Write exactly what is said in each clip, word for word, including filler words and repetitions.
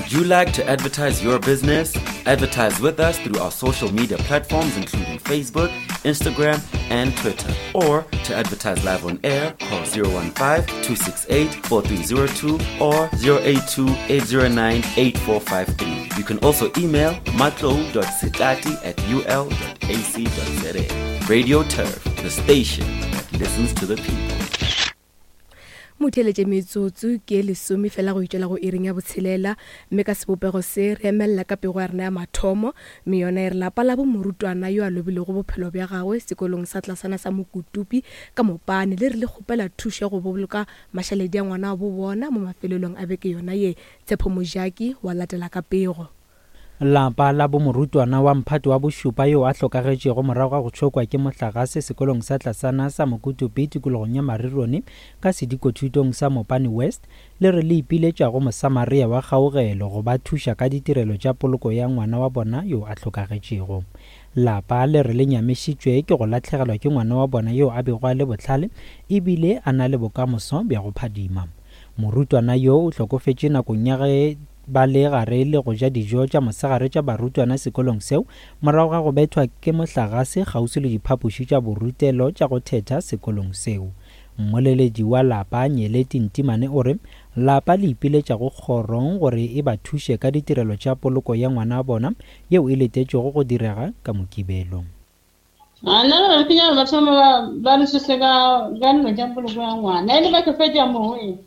Would you like to advertise your business? Advertise with us through our social media platforms, including Facebook, Instagram, and Twitter. Or to advertise live on air, call zero one five, two six eight, four three zero two or zero eight two, eight zero nine, eight four five three. You can also email matlou dot setati at u l dot a c dot z a. Radio Turf, the station that listens to the people. Motheletše metsotso ke lesome fela go itšwela go iring ya botshelela, mme ka sebopego se re emella ka pego ya rena ya mathomo, mme yona e re lapa la bo morutwana yo a lobilego bophelo bja gagwe sekolong sa tlasana sa Mokutupi ka Mopane le re le kgopela thušo ya go boloka mašaledi a ngwana wa bo bona mo mafelelong a beke yona ye. Tshepo Mojaki wa latela ka pego. Lapa la bo morutwana wa mphato wa bošupa yo a hlokagetšego morago ga go tšhokwa ke mohlagase sekolong sa tlasana sa Mokutupi tikologong ya Marirone ka sedikothutong sa Mopane West le re le ipiletša go Mosamaria wa kgaogelo go ba thuša ka ditirelo tša poloko ya ngwana wa bona yo a hlokagetšego. Lapa le re le nyamišitšwe ke go lahlegelwa ke ngwana wa bona yo a bego a le bohlale ebile a na le bokamoso bja go phadima. Morutwana yo o hlokofetše nakong ya ge ba le gare le go ja dijo tša mosegare tša barutwana sekolong seo morago ga go bethwa ke mohlagase kgauswi le diphapoši tša borutelo tša go thetha sekolong seo. Mmoleledi wa lapa Nyeleti Ntimane o re lapa le ipiletša go kgorong gore e ba thuše ka ditirelo tša poloko ya ngwana wa bona yeo e letetšwego go direga ka Mokibelo. A nna ba finya ba thoma ba, ba re suse ka, ka nno tša poloko ya ngwana. E le ba ke fetša moo, e.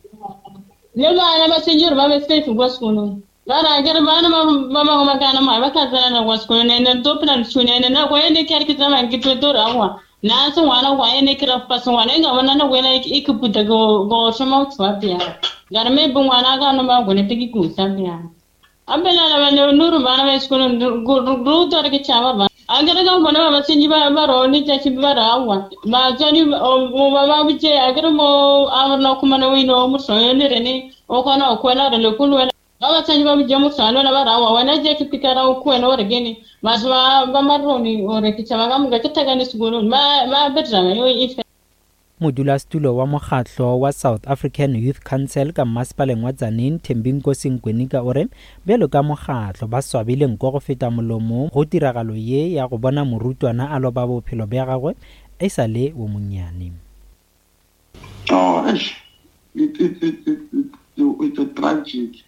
Le bana ba tshwanetse gore ba be safe kwa sekolong. Ba ra ke re bana ba, ba bangwe ba kana mare ba tla tsena na kwa sekolong, ene re tlo phela re tshwane, ene nako e ne ke re ke tsamaya ke tlo tlo re aowa, nna se ngwana kwa ene ke ra fa se ngwana, e ka bona nako ena e ke puta go, go thoma go tswa bjang. Ka re maybe ngwana a ka no ba gone te ke kusa bjang. A phela ba ne no re bana ba sekolong, go, go, go utlwa re ke tšhaba ba. A ke re ka bona ba ba tshwenye ba, ba re one tšatši ba re aowa. Batswadi ba, o, o, ba ba botše, a ke re mo, a re na khumana o ino, o mohlong, le rene, o kgona go kwela re le kolo wena. Ba ba tshwenye ba botše mohlong, le wena ba re aowa, wena je ke pikara o kwena o re kene. Batho ba, ba Maroni, o re ke tšhaba ka moka, ke thakane sekolong. Ba, ba betrana, yo e fe. Modulasetulo wa mokgatlo wa South African Youth Council ka mmasepaleng wa Tzaneen, Thembinkosi Nkwenika o re bjalo ka mokgatlo ba swabile nko go feta molomo go tiragalo ye ya go bona morutwana a loba bophelo bja gagwe e sa le wo monnyane. Oh, eish. It, it, it, it, it, it's a tragic.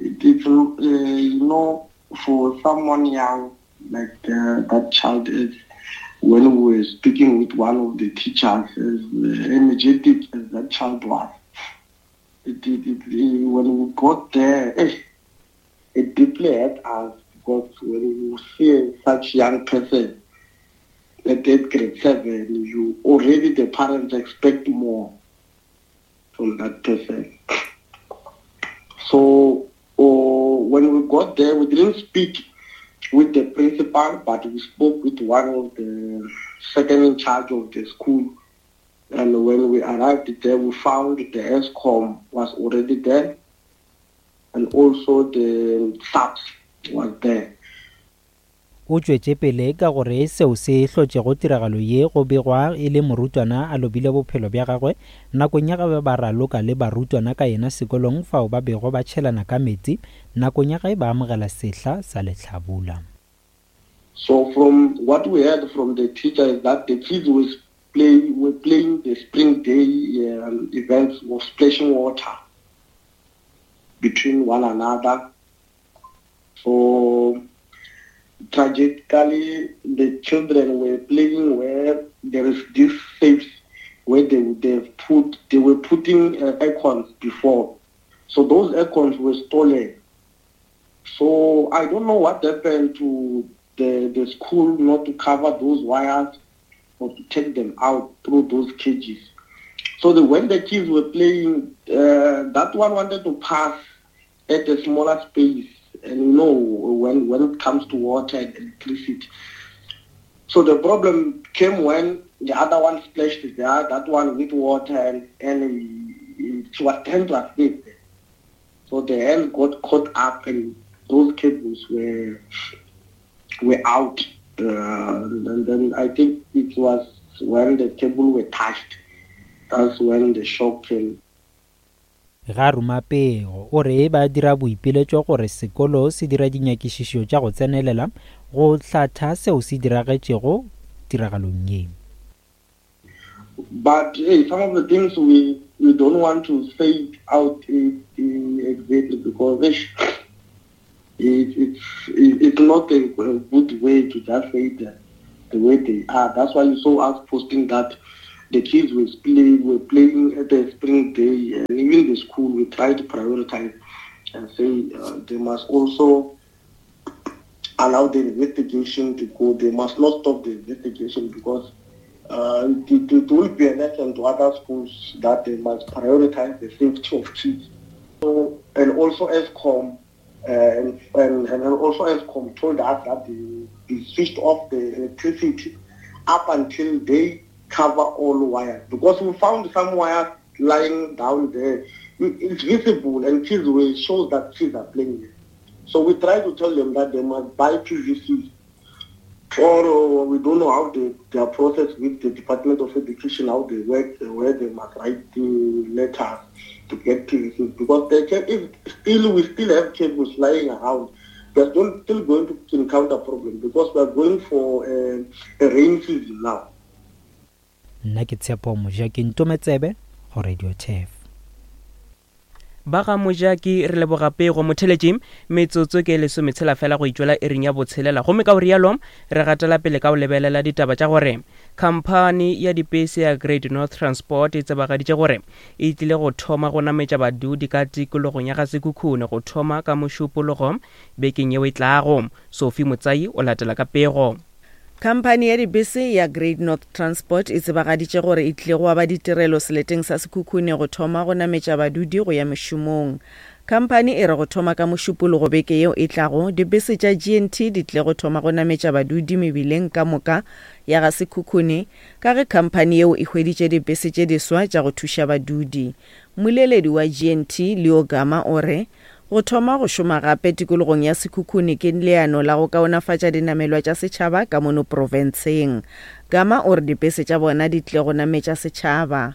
It, it's, uh, you know, for someone young like, uh, that child is, when we were speaking with one of the teachers, as energetic as that child was, it, it, it, it, when we got there, eh, it deeply hurt us, because when you see such young person at eighth grade seven, you already, the parents expect more from that person. So oh, when we got there, we didn't speak with the principal, but we spoke with one of the second in charge of the school. And when we arrived there, we found the Eskom was already there, and also the S A P S was there. O tšwetše pele ka gore seo se hlotšego tiragalo ye go begwa e le morutwana a lobile bophelo bja gagwe nakong ya ge ba raloka le barutwana ka yena sekolong fao ba bego ba tšhelana ka metsi nakong ya ge ba amogela sehla sa lehlabula. So from what we heard from the teacher is that the kids were, play, were playing the spring day, um, events of splashing water between one another. So tragically, the children were playing where there is this safe where they would have put, they were putting, uh, acorns before. So those acorns were stolen. So I don't know what happened to the, the school not to cover those wires or to take them out through those cages. So the, when the kids were playing, uh, that one wanted to pass at a smaller space. And you know, when, when it comes to water and electricity. So the problem came when the other one splashed there, that one with water, and, and it was turned to escape. So the hand got caught up and those cables were, were out. Uh, and then I think it was when the cable were touched, that's when the shock came. Ga ruma pego o re ba dira boipiletšo gore sekolo se dira dinyakišišo tša go tsenelela go hlatha seo se diragetšego tiragalong ye. But hey, some of the things we, we don't want to say it out it, it, exactly because it, it, it's, it's not a, a good way to just say it the, the way they are. That's why you saw us posting that the kids were playing, were playing at the spring day, and even the school, we try to prioritize and say uh, they must also allow the investigation to go. They must not stop the investigation because uh, it, it will be a lesson to other schools that they must prioritize the safety of kids. So, and also Eskom, uh, and, and, and also Eskom told us that they, they switched off the electricity up until they cover all wires, because we found some wires lying down there. It's visible, and kids will show that kids are playing there. So we try to tell them that they must buy P V C, or uh, we don't know how they, their process with the Department of Education, how they work, where they must write the letters to get P V C, because they can, if still we still have cables lying around, we are still going to encounter problems because we are going for a, a rain season now. Nna ke Tshepo Mojaki, Ntometsebe go Radio Turf. Ba ga Mojaki re leboga pego motheletši metsotso ke lesometshela fela go itšwela ering ya botshelela, gomme ka o rialo re gatela pele ka o lebelela ditaba tša gore khamphani ya dipese ya Great North Transport e tsebagaditše gore e tlile go thoma go nametša badudi ka tikologong ya Gasekhukhune go thoma ka mošupologo bekeng yeo e tlago. Sophie Motsai o latela ka pego. Khamphani ya dibese ya Great North Transport e tsebagaditše gore e tlile go aba ditirelo seleteng sa Sekhukhune go thoma go nametša badudi go ya mešomong. Khamphani e re go thoma ka mošupologo beke yeo e tlago, dibese tša G N T di tlile go thoma go nametša badudi mebileng ka moka ya Gasekhukhune, ka ge khamphani yeo e hweditše dibese tše diswa tša go thuša badudi. Mmoleledi wa G N T Leo Gama o re go thoma go šoma gape tikologong ya Sekhukhune ke leano la go kaonafatša dinamelwa tša setšhaba ka mono profenseng. Gama o re dibese tša bona di tlile go nametša setšhaba.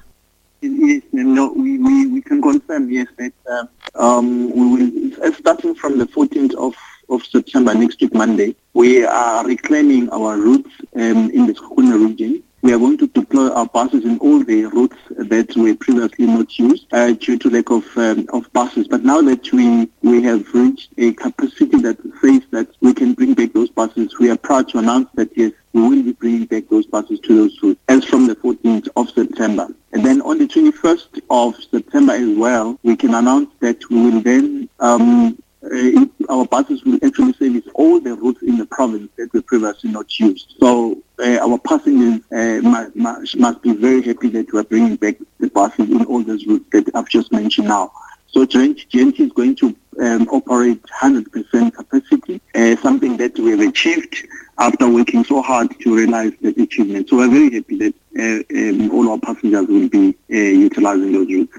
Yes, no, we, we, we can confirm, yes, that uh, um, we will, starting from the fourteenth of, of September, next week, Monday, we are reclaiming our routes um, in the Sekhukhune region. We are going to deploy our buses in all the routes that were previously not used uh, due to lack of um, of buses. But now that we, we have reached a capacity that says that we can bring back those buses, we are proud to announce that, yes, we will be bringing back those buses to those routes as from the fourteenth of September. And then on the twenty-first of September as well, we can announce that we will then... Um, Uh, our buses will actually service all the routes in the province that were previously not used. So uh, our passengers uh, must, must be very happy that we are bringing back the buses in all those routes that I've just mentioned now. So G N T is going to um, operate one hundred percent capacity, uh, something that we have achieved after working so hard to realize that achievement. So we're very happy that uh, um, all our passengers will be uh, utilizing those routes.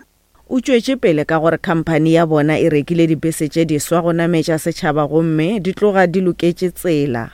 O tšwetše pele ka gore khamphani ya bona e rekile dibese tše diswa go nametša setšhaba gomme di tloga di loketše tsela.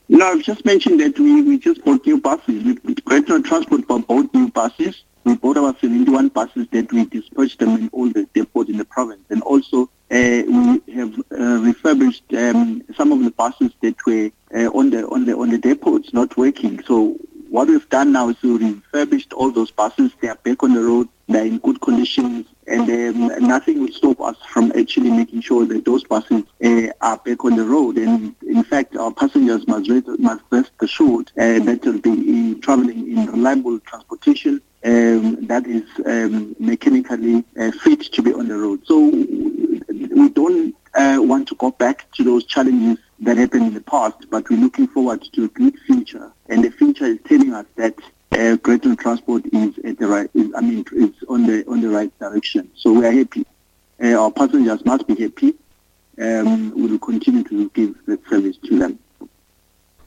No, I've just mentioned that we, we just bought new buses. We, Great North Transport bought new buses. We bought about seventy-one buses that we dispatched them in all the depots in the province. And also uh, we have uh, refurbished um, some of the buses that were uh, on the on the on the depots not working. So what we've done now is we refurbished all those buses. They are back on the road. They're in good conditions, and um, nothing will stop us from actually making sure that those buses uh, are back on the road. And in fact, our passengers must rest, must rest assured uh, that they'll be in, traveling in reliable transportation um, that is um, mechanically uh, fit to be on the road. So we don't uh, want to go back to those challenges that happened in the past, but we're looking forward to a good future. And the future is telling us that Uh, Great North Transport is at the right. Is, I mean, is on the on the right direction. So we are happy. Uh, our passengers must be happy. Um, we will continue to give that service to them.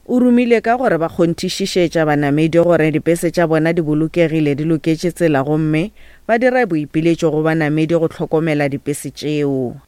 O romile ka gore ba kgonthišišetša banamedi gore dibese tša bona di bolokegile di loketše tsela gomme ba dira boipiletšo go banamedi go hlokomela dibese tšeo.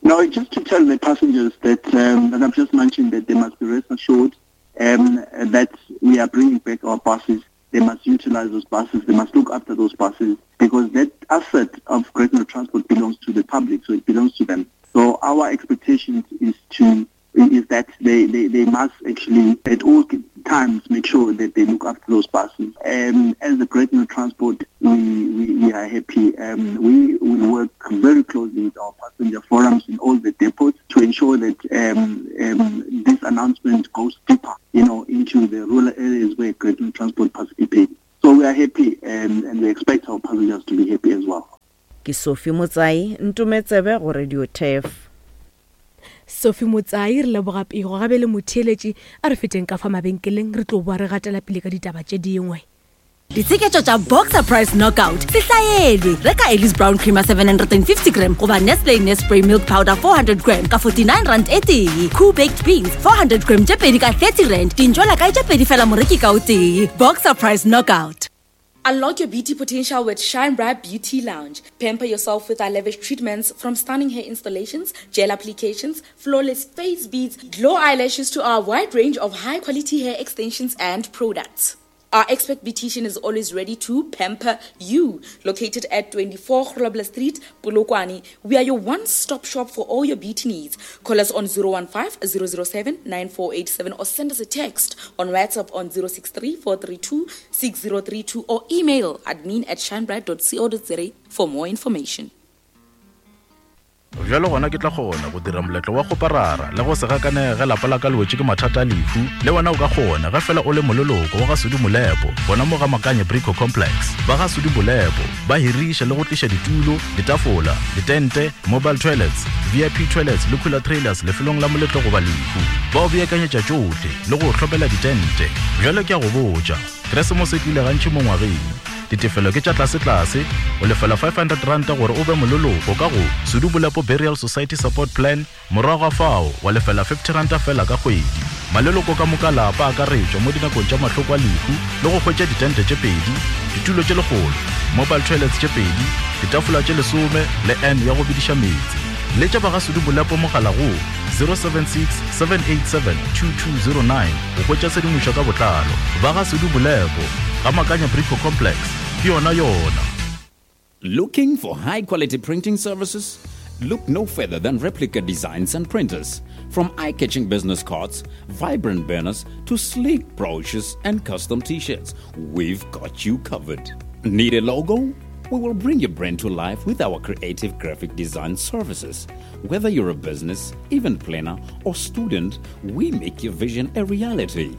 No, just to tell the passengers that, um, that I've just mentioned that they must be rest assured um, that we are bringing back our buses. They must utilize those buses. They must look after those buses because that asset of Great North Transport belongs to the public, so it belongs to them. So our expectations is to is that they, they, they must actually at all times make sure that they look after those buses. Um, as the Great North Transport, we, we, we are happy. Um, we will work very closely with our passenger forums in all the depots to ensure that um, um, this announcement goes deeper, you know, into the rural areas where Great North Transport participates. So we are happy and, and we expect our passengers to be happy as well. Ke Sophie Motsai, Ntometsebe go Radio Turf. Sophie Motsai re leboga pego gabe le motheeletši a re feteng ka fa mabenkeleng re tlo boa re gatela pele ka ditaba tše dingwe. Ditsheketšo tša Boxer Price Knockout se hlaelwe. Reka Ellis Brown Creamer seven hundred and fifty gram goba Nestle Nespray Milk Powder four hundred gram ka forty-nine rand e tee. Cool Baked Beans four hundred gram tše pedi ka thirty rand. Dintšwela kae tše pedi fela moreki ka o tee. Boxer Price Knockout. Unlock your beauty potential with Shine Bright Beauty Lounge. Pamper yourself with our lavish treatments, from stunning hair installations, gel applications, flawless face beads, glow eyelashes to our wide range of high-quality hair extensions and products. Our expert beautician is always ready to pamper you. Located at twenty-four Grobler Street, Polokwane, we are your one-stop shop for all your beauty needs. Call us on zero one five, zero zero seven, nine four eight seven or send us a text on WhatsApp on zero six three, four three two, six zero three two or email admin at shinebright dot co dot za for more information. Bjalo gona ke tla kgona go dira moletlo wa go parara le go se gakanege lapa la ka le wetše ke mathata a lehu. Le wena o ka kgona ge fela o le moleloko wa ga Sudi Molepo gona mo ga Makanye Brico Complex. Ba ga Sudi Molepo ba hiriša le go tliša ditulo, ditafola, ditente, mobile toilets, V I P toilets le cooler trailers lefelong la moletlo goba lehu. Ba o beakanyetša tšohle le go hlopela ditente. Bjalo ke a go botša, Keresemose e tlile gantši mo ngwageng. Ditefelo ke tša tlase-tlase, o lefela five hundred rand gore o be moleloko ka go Sudi Molepo Burial Society Support Plan, morago ga fao wa lefela fifty rand fela ka kgwedi. Maleloko ka moka lapa a akaretšwa mo dinakong tša mahloko a lehu le go hwetša ditente tše pedi, ditulo tše lekgolo, mobile toilets tše pedi, ditafola tše lesome le N ya go bediša meetse. Letša ba ga Sudi Molepo mogala go zero seven six, seven eight seven, two two zero nine go hwetša tshedimošo ka botlalo. Ba ga Sudi Molepo ga Makanya Brico Complex. Yona yona. Looking for high quality printing services? Look no further than Replica Designs and Printers. From eye-catching business cards, vibrant banners, to sleek brochures and custom t-shirts, we've got you covered. Need a logo? We will bring your brand to life with our creative graphic design services. Whether you're a business, event planner, or student, we make your vision a reality.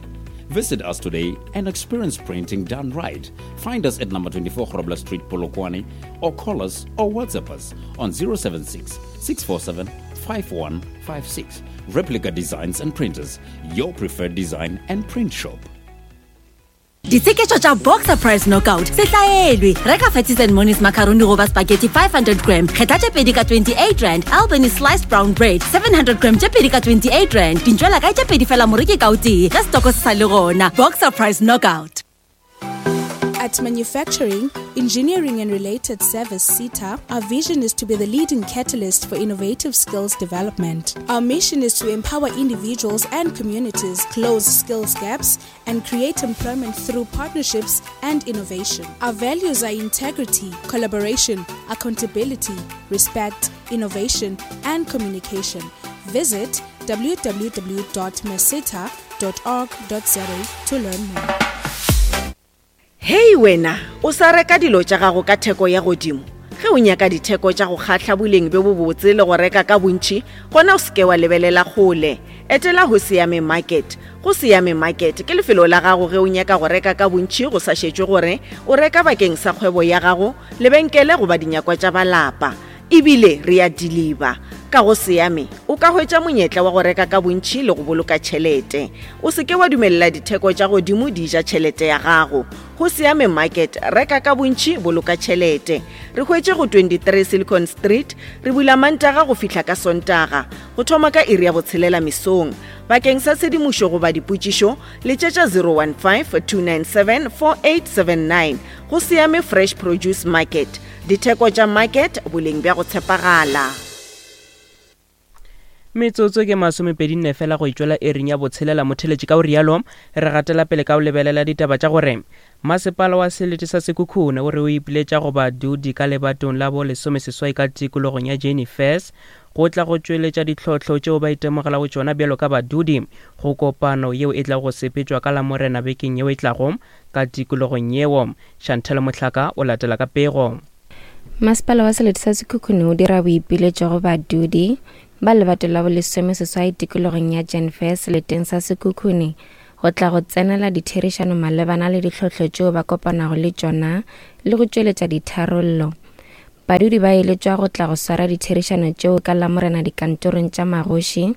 Visit us today and experience printing done right. Find us at number twenty-four Grobler Street, Polokwane, or call us or WhatsApp us on zero seven six, six four seven, five one five six. Replica Designs and Printers, your preferred design and print shop. Ditsheketšo tša Boxer Price Knockout se hlaelwe. Reka Fatties and Monies macaroni goba spaghetti five hundred gram, kgetha tše pedi ka twenty-eight rand. Albany sliced brown bread seven hundred gram tše pedi ka twenty-eight rand. Dintšwela kae tše pedi fela moreki ka o tee ge setoko se sa le gona. Boxer Price Knockout. At Manufacturing, Engineering and Related Service, SETA, our vision is to be the leading catalyst for innovative skills development. Our mission is to empower individuals and communities, close skills gaps, and create employment through partnerships and innovation. Our values are integrity, collaboration, accountability, respect, innovation, and communication. Visit w w w dot meseta dot org dot z a to learn more. Hei wena, o sa reka dilo tša gago ka theko ya godimo. Ge o nyaka ditheko tša go kgahla boleng bjo bobotse le go reka ka bontši, gona o seke wa lebelela kgole. Etela go Siame Market. Go Siame Market ke lefelo la gago ge o nyaka go reka ka bontši go sa šetšwe gore o reka bakeng sa kgwebo ya gago, lebenkele goba dinyakwa tša balapa. Ebile re a deliver. Ka go Siame o ka hwetša monyetla wa go reka ka bontši le go boloka tšhelete. O seke wa dumelela ditheko tša godimo di ja tšhelete ya gago. Go Siame Market, reka ka bontši, boloka tšhelete. Re hwetše go twenty-three Silicon Street, re bula Mantaga go fihla ka Sontaga, go thoma ka iri ya botshelela mesong. Bakeng sa tshedimošo goba dipotšišo, letšetša zero one five, two nine seven, four eight seven nine. Go Siame Fresh Produce Market. Ditheko tša market, boleng bja go tshepagala. Metsotso ke masomepedi nne fela go itšwela ering ya botshelela motheletši. Ka o rialo re gatela pele ka o lebelela ditaba tša gore masepala wa selete sa Sekhukhune o re o ipiletša go badudi ka lebatong la bo lesomeseswai ka tikologong ya Jane Fairs go tla go tšweletša ditlhohlo tšeo ba itemogelago tšona bjalo ka badudi go kopano yeo e tla go sepetšwa ka Lamorena bekeng yeo e tlago ka tikologong yeo. Chantel Mohlaka o latela ka pego. Masepala wa selete sa Sekhukhune o dira boipiletšo go badudi ba lebato la bolesomeseswai tikologong ya Jane Fairs seleteng sa Sekhukhune go tla go tsenela ditherišano malebana le ditlhohlo tšeo ba kopanago le tšona le go tšweletša ditharollo. Badudi ba eletšwa go tla go swara ditherišano tšeo ka Lamorena dikantorong tša magoši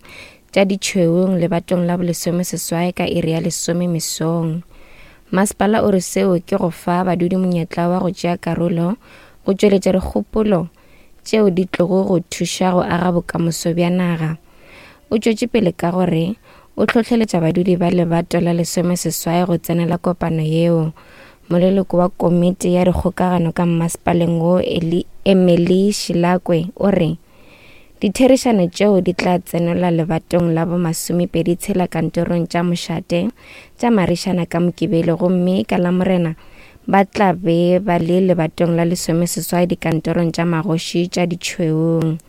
tša Ditšhwewong lebatong la bolesomeseswai ka iri ya lesome mesong. Masepala o re seo ke go fa badudi monyetla wa go tšea karolo go tšweletša dikgopolo tšeo di tlogo go thuša go aga bokamoso bja naga. O tšwetše pele ka gore o hlohleletša badudi ba lebato la lesomeseswai go tsenela kopano yeo. Moleloko wa komiti ya dikgokagano ka mmasepaleng wo Emily Shilakwe o re ditherišano tšeo di tla tsenelwa lebatong la bomasomepedi tshela kantorong tša mošate tša Marišana ka Mokibelo, gomme ka Lamorena ba tla be ba le lebatong la lesomeseswai dikantorong tša magoši tša Ditšhwewong.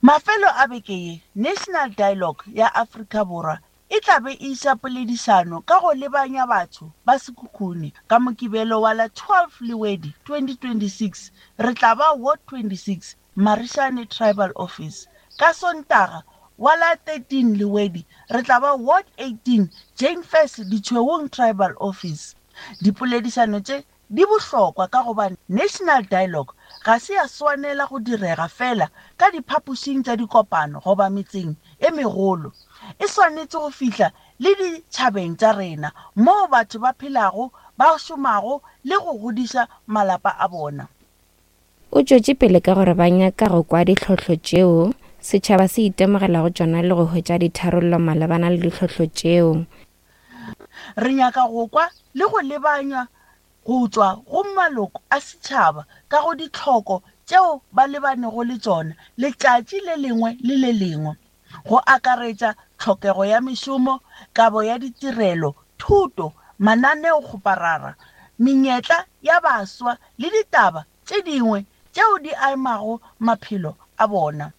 Mafelo a beke ye, National Dialogue ya Afrika Borwa e tla be e iša poledišano ka go lebanya batho ba Sekhukhune ka Mokibelo wa la twelve Lewedi twenty twenty-six. Re tla ba Ward twenty-six Marishane Tribal Office. Ka Sontaga wa la thirteen Lewedi re tla ba Ward eighteen Jane Fairs Ditšhwewong Tribal Office. Dipoledišano tše di bohlokwa ka gobane National Dialogue ga se ya swanela go direga fela ka diphapošing tša dikopano goba metseng e megolo. E swanetše go fihla le ditšhabeng tša rena moo batho ba phelago, ba šomago le go godiša malapa a bona. O tšwetše pele ka gore ba nyaka go kwa ditlhohlo tšeo setšhaba se itemogelago tšona le go hwetša ditharollo malebana le ditlhohlo tšeo. Re nyaka go kwa le go lebanywa go tšwa go maloko a setšhaba ka go ditlhoko tšeo ba lebanego le tšona letšatši le lengwe le le lengwe, go akaretša tlhokego ya mešomo, kabo ya ditirelo, thuto, mananeokgoparara, menyetla ya baswa le ditaba tše dingwe tšeo di amago maphelo a bona.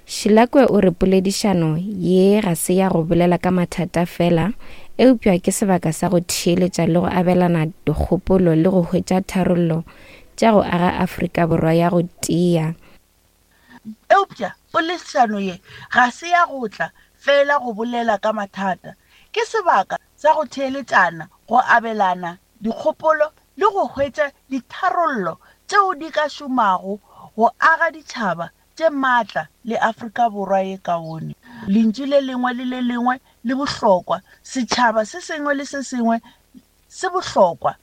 Shilakwe o re poledišano ye ga se ya go bolela ka mathata fela, eupša ke sebaka sa go theeletša le go abelana dikgopolo le go hwetša tharollo tša go aga Afrika Borwa ya go tia. Eupša poledišano ye ga se ya go tla fela go bolela ka mathata, ke sebaka sa go theeletšana, go abelana dikgopolo le go hwetša ditharollo tšeo di ka šomago go aga ditšhaba tše maatla le Afrika Borwa ye kaone. Lentšu le lengwe le le lengwe le bohlokwa, setšhaba se sengwe le se sengwe se bohlokwa.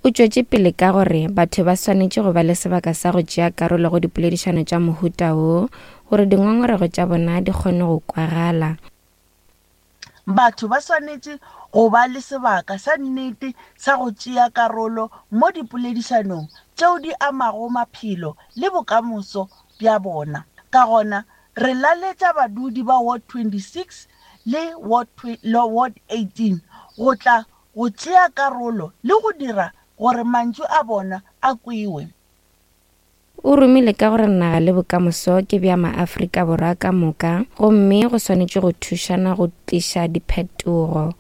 O tšwetše pele ka gore batho ba swanetše go ba le sebaka sa go tšea karolo go dipoledišano tša mohuta wo gore dingongorego tša bona di kgone go kwagala. Batho ba swanetše go ba le sebaka sa nnete sa go tšea karolo mo dipoledišanong tšeo di amago maphelo le bokamoso bja bona. Ka gona re laletša badudi ba Ward twenty-six le Ward Ward eighteen go tla go tšea karolo le go dira gore mantšu a bona a kwewe. O romile ka gore naga le bokamoso ke bja maAfrika Borwa ka moka, gomme go swanetše go thušana go tliša diphetogo.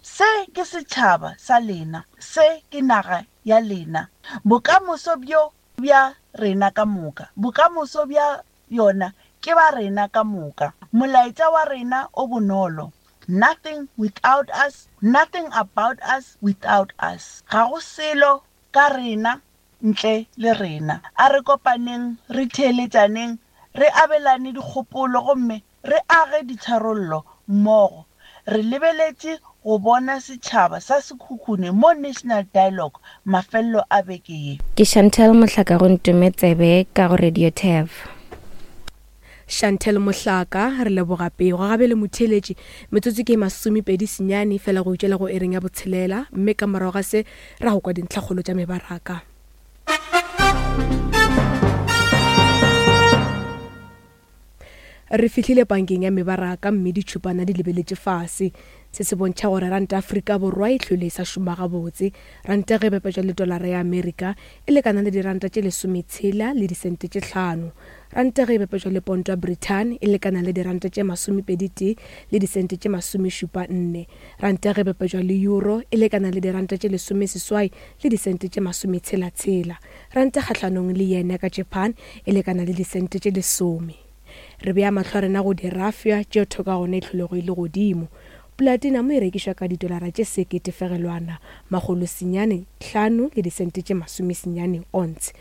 Se ke setšhaba sa lena, se ke naga ya lena. Bokamoso bjo bja rena ka moka, bokamoso bja yona ke ba rena ka moka. Molaetša wa rena o bonolo: nothing without us, nothing about us without us. Ga go selo ka rena ntle le rena. A re kopaneng, re theeletšaneng, re abelane dikgopolo gomme re age ditharollo mmogo. Re lebeletše go bona setšhaba sa Sekhukhune mo National Dialogue mafelelo a beke ye. Ke Chantel Mohlaka go Ntume Tsebe ka go Radio T E V. Chantel Mohlaka, re leboga pego gabe le motheletši. Metsotso ke masomepedi senyane fela go itšwela go ering ya botshelela, mme ka morago ga se ra go kwa dintlhakgolo tša mebaraka. Re fihlile bankeng ya mebaraka mme ditšhupana di lebeletše fase. Se se bontšha gore ranta Afrika Borwa e hlwele e sa šoma gabotse. Ranta ge e bapetšwa le dolara ya Amerika e lekana le diranta tše lesometshela le disente tše hlano. Ranta ge e bapetšwa le ponto ya Britain e lekana le diranta tše masomepedi tee le disente tše masomešupa nne. Ranta ge e bapetšwa le euro e lekana le diranta tše lesomeseswai le disente tše masometshela-tshela. Ranta kgahlanong le yen ya ka Japan e lekana le disente tše lesome. Re bea mahlo a rena go dirafya tšeo theko ya gona e hlolego e le godimo. Platinum e rekišwa ka didolara tše sekete fegelwana makgolo senyane hlano le disente tše masomesenyane ounce.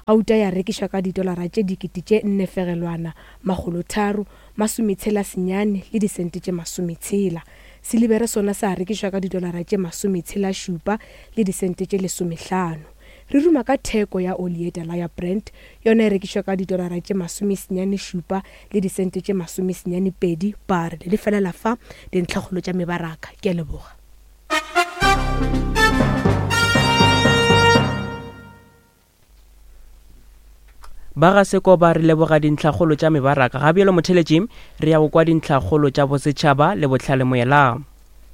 Gauta ya rekišwa ka didolara tše dikete tše nne fegelwana makgolo tharo masometshela senyane le disente tše masometshela. Silibere sona sa rekišwa ka didolara tše masometshela šupa le disente tše lesomehlano. Re ruma ka theko ya oli ye tala ya Brent, yona e rekišwa ka didolara tše masomesenyane šupa le disente tše masomesenyane pedi barele. Le felela fa dintlhakgolo tša mebaraka. Ke a leboga. Ba ga Sekoba re leboga dintlhakgolo tša mebaraka. Ga bjalo motheletši re ya go kwa dintlhakgolo tša bosetšhaba le bohlale moela.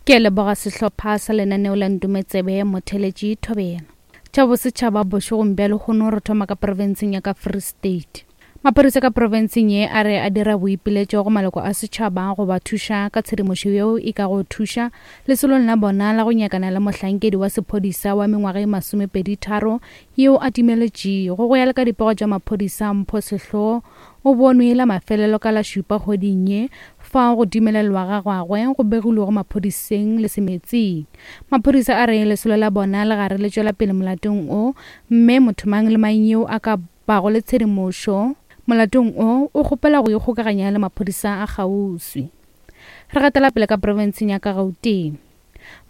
Ke a leboga sehlopha sa lenaneo la Ntumetsebe motheletši Thobela. Tša bosetšhaba bošegong bja lehono re thoma ka profenseng ya ka Free State. Maphodisa ka profenseng ye a re a dira boipiletšo go maloko a setšhaba go ba thuša ka tshedimošo yeo e ka go thuša lesolong la bona la go nyakana le mohlankedi wa sephodisa wa mengwaga e masomepedi tharo yeo a timeletšego. Go ya le ka dipego tša maphodisa, Mpho Sehloho o bonwe la mafelelo ka la šupa kgweding ye fao go timelelwa ga gagwe go begilwego maphodiseng le semetsing. Maphodisa a re lesolo la bona le gare le tšwela pele molatong o, mme motho mang le mang yeo a ka bago le tshedimošo molatong o o kgopela go ikgokaganya le maphodisa a kgauswi. Re gatela pele ka profenseng ya ka Gauteng.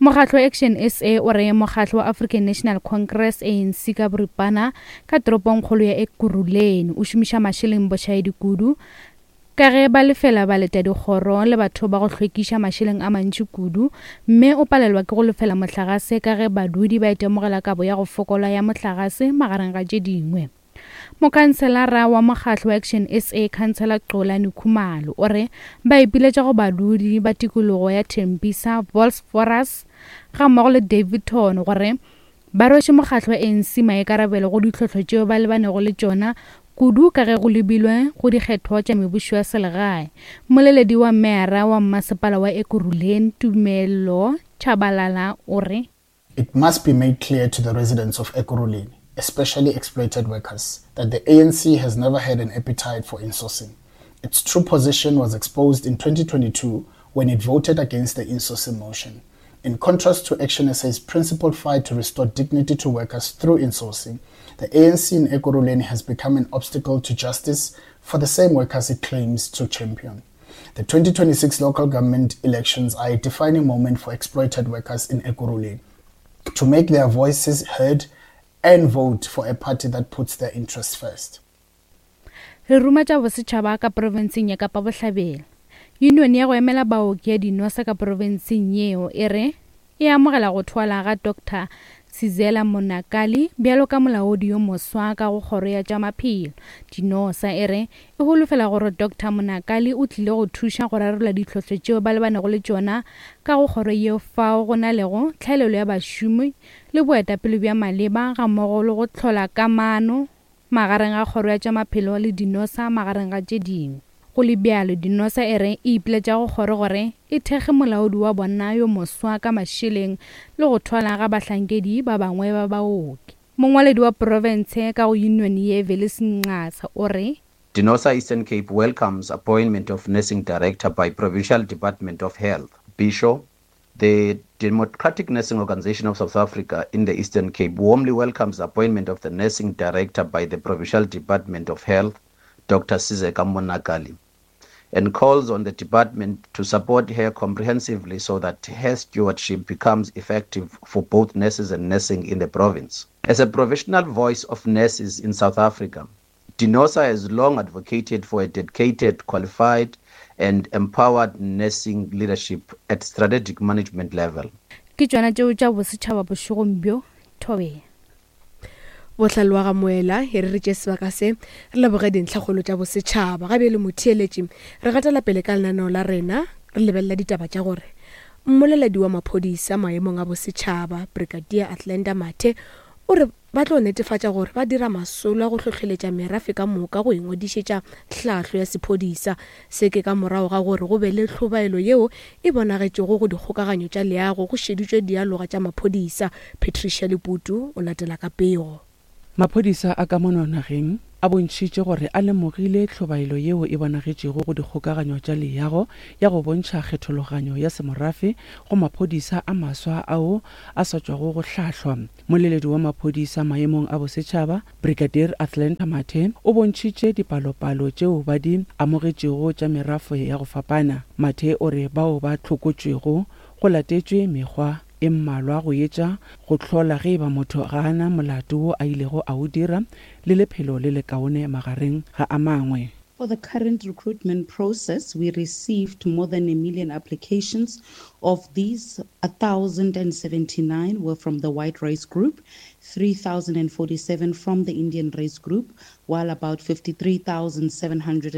Mokgatlo Action S A o re mokgatlo wa African National Congress A N C ka boripana ka toropongkgolo ya Ekurhuleni o šomiša mašeleng bošaedi kudu ka ge ba lefela ba leta dikgoro le batho ba go hlwekiša mašeleng a mantši kudu, mme o palelwa ke go lefela mohlagase ka ge badudi ba itemogela kabo ya go fokola ya mohlagase magareng ga tše dingwe. Mokhanselara wa mokgatlo wa Action S A, Councillor Xolani Khumalo, o re ba ipiletša go badudi ba tikologo ya Tembisa, Vosloorus ga mmogo le Daveyton gore ba rweše mokgatlo wa A N C maikarabelo go ditlhohlo tšeo ba lebanego le tšona kudu ka ge go lebilwe go dikgetho tša mebušo ya selegae. Mmoleledi wa meyara wa mmasepala wa Ekurhuleni, Tumelo Tshabalala, o re It must be made clear to the residents of Ekurhuleni, especially exploited workers, that the A N C has never had an appetite for insourcing. Its true position was exposed in twenty twenty-two when it voted against the insourcing motion. In contrast to Action S A's principled fight to restore dignity to workers through insourcing, the A N C in Ekurhuleni has become an obstacle to justice for the same workers it claims to champion. The twenty twenty-six local government elections are a defining moment for exploited workers in Ekurhuleni to make their voices heard and vote for a party that puts their interests first. Re ruma tša bosetšhaba ka profenseng ya Kapa Bohlabela. Union ya go emela baoki ya dinosa ka profenseng yeo e re e amogela go thwala ga Doctor Sizela Monakali bjalo ka molaodi yo moswa ka go kgoro ya tša maphelo. Dinosa e re e holofela gore Doctor Monakali o tlile go thuša go rarolla ditlhohlo tšeo ba lebanego le tšona ka go kgoro yeo fao go na lego tlhaelelo ya bašomi le boetapele bja maleba ga mmogo le go hlola kamano magareng ga kgoro ya tša maphelo le dinosa magareng ga tše dingwe. Go le bjalo, dinosa e re e ipiletša go kgoro gore e thekge molaodi wa bona yo moswa ka mašeleng le go thwala ga bahlankedi ba bangwe ba baoki. Mongwaledi wa profense ka go union ye Velis Nqasa o re Dinosa Eastern Cape welcomes appointment of nursing director by Provincial Department of Health. Bisho, the Democratic Nursing Organization of South Africa in the Eastern Cape warmly welcomes the appointment of the nursing director by the Provincial Department of Health, Doctor Sizeka Monakali, and calls on the department to support her comprehensively so that her stewardship becomes effective for both nurses and nursing in the province. As a professional voice of nurses in South Africa, Dinosa has long advocated for a dedicated, qualified, and empowered nursing leadership at strategic management level. Ke tšona tšeo tša bosetšhaba bošegong bjo, Thobela. Bohlale wa ga Moela e re re tše sebaka se re leboge dintlhakgolo tša bosetšhaba. Ga bjale motheeletši re gatela pele ka lenaneo la rena re lebelela ditaba tša gore mmoleledi wa maphodisa maemong a bosetšhaba Brigadier Athlenda Mathe o re ba tlo netefatša gore ba dira masolo a go hlohleletša merafe ka moka go ingwadišetša tlhahlo ya sephodisa. Se ke ka morago ga gore go be le tlhobaelo yeo e bonagetšego go dikgokaganyo tša leago go šeditšwe dialoga tša maphodisa. Patricia Leputu o latela ka pego. Maphodisa a ka mono nageng a bontšhitše gore a lemogile tlhobaelo yeo e bonagetšego go dikgokaganyo tša leago ya go bontšha kgethologanyo ya semorafe go maphodisa a maswa ao a sa tšwago go hlahlwa. Moleledi wa maphodisa maemong a bosetšhaba Brigadier Athlenda Mathe o bontšhitše dipalopalo tšeo ba di amogetšego tša merafo ya go fapana. Mathe o re bao ba hlokotšwego go latetšwe mekgwa e mmalwa go etša go hlola ge eba motho ga a na molato wo a ilego a o dira le lephelo le lekaone magareng ga a mangwe. For the current recruitment process, we received more than a million applications. Of these, a thousand and seventy-nine were from the white race group, three thousand and forty-seven from the Indian race group, while about fifty-three thousand seven hundred